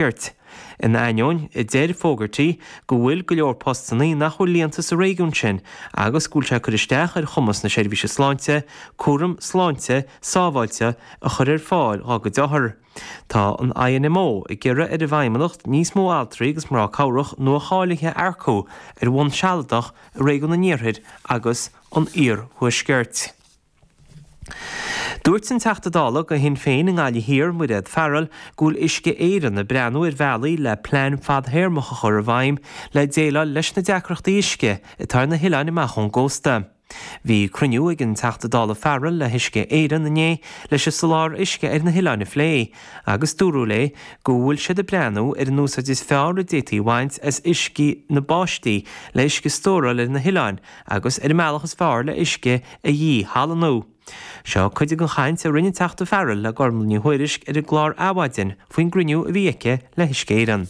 Iarthuaiscirt. In ainneoin a deir Fogarty go bhfuil go leor postannaí nach bhfuil líonta sa réigiún sin agus go bhfuil sé ag cur isteach ar chumas na seirbhíse sláinte cúram sláinte sábháilte a chur ar fáil dhá gcuid othar. Tá an INMO ag iarraidh ar an bhFeidhmeannacht níos mó altraí agus mná cabhrach nua-cháilithe a earcú ar bhonn sealadach i réigiún an Iarthair agus an Iarthuaiscirt. Dúirt an Teachta Dála do Shinn Féin i nGaillimh Thiar, Mairéad Farrell, go bhfuil Uisce Éireann ag breathnú ar bhealaí le plean fadthéarmach a chur i bhfeidhm le déileáil leis na deacrachtaí uisce atá ar na hoileáin amach ón gcósta. Bhí cruinniú ag an Teachta Dála Farrell le hUisce Éireann inné leis an soláthar uisce ar na hoileáin a phlé agus dúradh léi go bhfuil siad ag breathnú ar an úsáid is fearr a d'fhéadfaí a bhaint as uisce na báistí le uisce a stóráil ar na hoileáin agus ar an mbealach is fearr le uisce a dhíshalannú. Seo cuid den chaint a rinne an Teachta Farrell le Gormlaith Ní Thuairisg ar an gclár Adhmhaidin faoin gcruinniú a bhí aici le hUisce Éireann.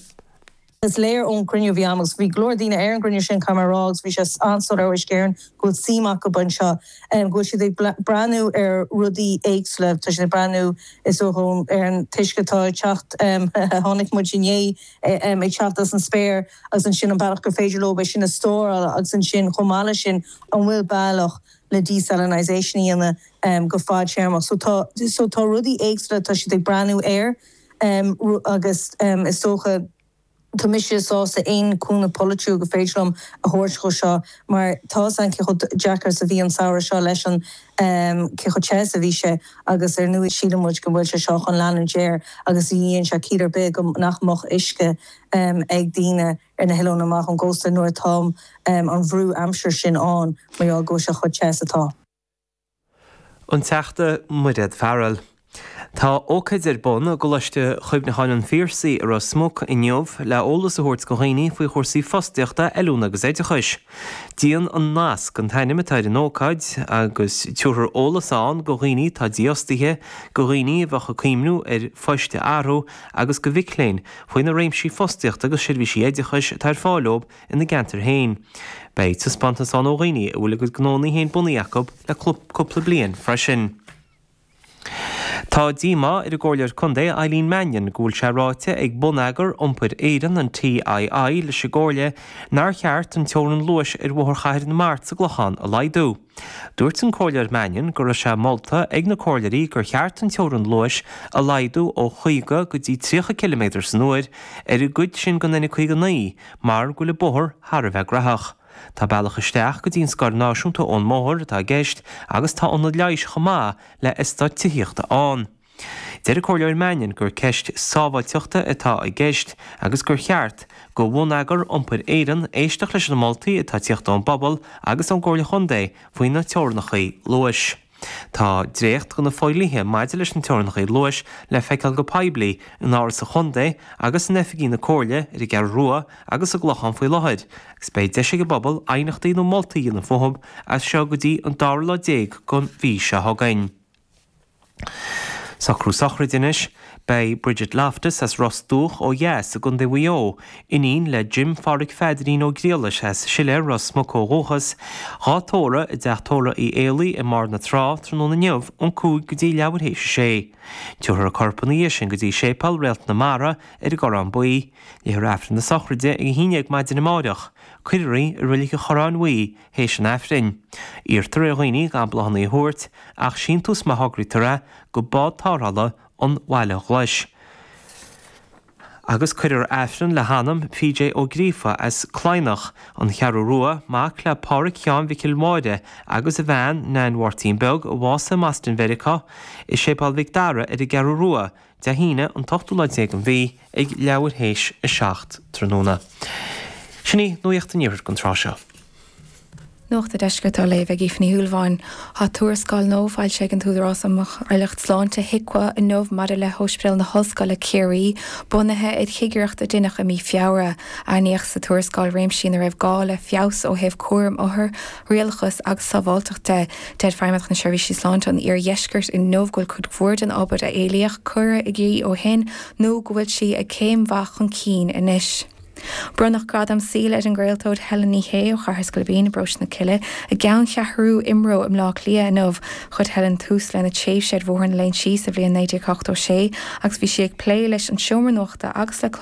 Is léir ón gcruinniú a bhí agam, agus bhí go leor daoine ar an gcruinniú sin, caithfidh mé a rá, agus bhí sé an-soiléir ó Uisce Éireann go bhfuil suim acu anseo, go bhfuil siad ag breathnú ar rudaí éagsúla, tá siad ag breathnú, is dócha, ar an t-uisce atá ag teacht, a chonaic muid inné, ag teacht as an spéir. agus ansin an bealach gur féidir leo é sin a stóráil agus ansin chomh maith leis sin an bhfuil bealach le desalinisation a dhéanamh go fadtéarmach. So tá so tá rudaí éagsúla atá siad ag breathnú air agus is dócha tá mise sásta aon cúnamh polaitiúil gur féidir liom a thabhairt dhó seo mar tá 'fhios a'inn cé chomh deacair is a bhí an samhradh seo leis an cé chomh te is a bhí sé agus ar ndóigh síleann muid go bhfuil sé seo chun leanúint air agus ní dhéanann sé ciall ar bith go nach mbeadh uisce ag daoine ar na hoileáin amach ón gcósta nuair atá an bhrú aimsire sin ann mar gheall go bhfuil sé chomh te is atá. An Teachta Mairéad Farrell. Tá ócáid ar bun i gColáiste Chuimhneacháin an Phiarsaigh i Ros Muc inniu le eolas a thabhairt do dhaoine faoi chúrsaí fostaíochta, oiliúna agus oideachais. Déan an Nasc an t-ainm atá ar an ócáid agus tabharfar eolas ann do dhaoine atá dífhostaithe, do dhaoine a bheadh ag cuimhniú ar phoist a athrú agus do mhic léinn faoi na réimsí fostaíochta agus seirbhísí oideachais atá ar fáil dóibh ina gceantar féin. Beidh taispeántas ann ó dhaoine a bhfuil a gcuid gnónna féin bunaithe acu le cúpla bliain freisin. Tá díomá ar an gComhairleoir Contae Eileen Mannion go bhfuil sé ráite ag Bonneagar Iompair Éireann, an TII, leis an gComhairle nár cheart an teorainn luais ar Bhóthar Chathair na Mart sa gClochán a laghdú. Dúirt an Comhairleoir Mannion go raibh sé molta ag na comhairleoirí gur cheart an teorainn luais a laghdú ó 50 go dtí 30 ciliméadar san uair ar an gcuid sin den N59 mar go bhfuil an bóthar thar a bheith gnóthach. Tá bealach isteach go dtí an Scoil Náisiúnta ón mbóthar atá i gceist agus tá ionad leighis chomh maith le eastát tithíochta ann. Deir an Comhairleoir Mannion gur ceist sábháilteachta atá i gceist agus gur cheart go Bhonneagar Iompair Éireann éisteacht leis na moltaí atá ag tíocht ón bpobal agus ón gComhairle Chontae faoi na teorannachaí luais. Tá dréacht de na fodhlíthe maidir leis na teorannachaí luais le feiceáil go poiblí in Áras an Chontae agus in oifigí na Comhairle ar an gCeathrú Rua agus sa gClochán faoi láthair agus beidh deis ag an bpobal aighneachtaí nó moltaí a dhéanamh fúthu as seo go dtí an dara lá den mhí seo chugainn. Socrú sochraide anois. Beidh Bridget Loftus as Ros Dumhach ó dheas i gContae Mhaigh Eo, iníon le Jim Pháraic Pheadairín Ó Griallais as Siléar, Ros Muc ó dhúchas, dhá tórramh i dTeach Tórraimh Uí Éalaí i mBarr na Trá tráthnóna inniu ón 5 go dtí leathuair théis a sé. Tabharfar a corp ina dhiaidh sin go dtí Séipéal Réalt na Mara ar an gCorrán Buí. Léifear Aifreann na sochraide ag 11 maidin amáireach. Cuirfear í i Reilig an Chorráin Bhuí théis an Aifrinn. Iarrtar ar dhaoine gan bláthanna a thabhairt, ach síntiús má thograítear é, go bád tarrthála an Bhaile Ghlais. Agus cuirfear Aifreann le hanam PJ Ó Gríofa as Cladhnach, An Cheathrú Rua, mac le Pádhraic Sheáin Mhicil Mháire agus a bhean, Nain Mháirtín Beag, a bhásaigh i mBoston Mheiriceá, i Séipéal Mhic Dara ar an gCeathrú Rua, Dé hAoine an t-ochtú lá déag den mhí ag leathuair théis 7 tráthnóna. Sin í Nuacht an Iarthair don tráth seo. Nuacht an Deiscirt á léamh ag Aoife Ní Shúilleabháin. Tá tuarascáil nua foilsithe ag an tÚdarás um Cháilíocht Sláinte, HIQA, inniu maidir le hOspidéal na hOllscoile, Ciarraí, bunaithe ar chigireacht a deineadh i mí Feabhra. Aithníodh sa tuarascáil réimsí ina raibh gá le feabhas ó thaobh cúraim othar, rialachas agus sábháilteacht de. Deir Feidhmeannacht na Seirbhísí Sláinte an Iardheiscirt inniu go bhfuil cuid mhór den obair a éilíodh curtha i gcrích ó shin nó go bhfuil sí ag céim mhaith chun cinn anois. Bronnadh Gradam Saoil ar an gcraoltóir Helen Ní Shé ó Chathair Scoilbín i bparóiste na Cille i gceanncheathrú IMRO i mBleá Cliath inniu. Chuir Helen tús lena tréimhse ar Bhóthar na Léinsí sa bhliain 1986 agus bhí sí ag plé leis an seomra nuachta agus le clár.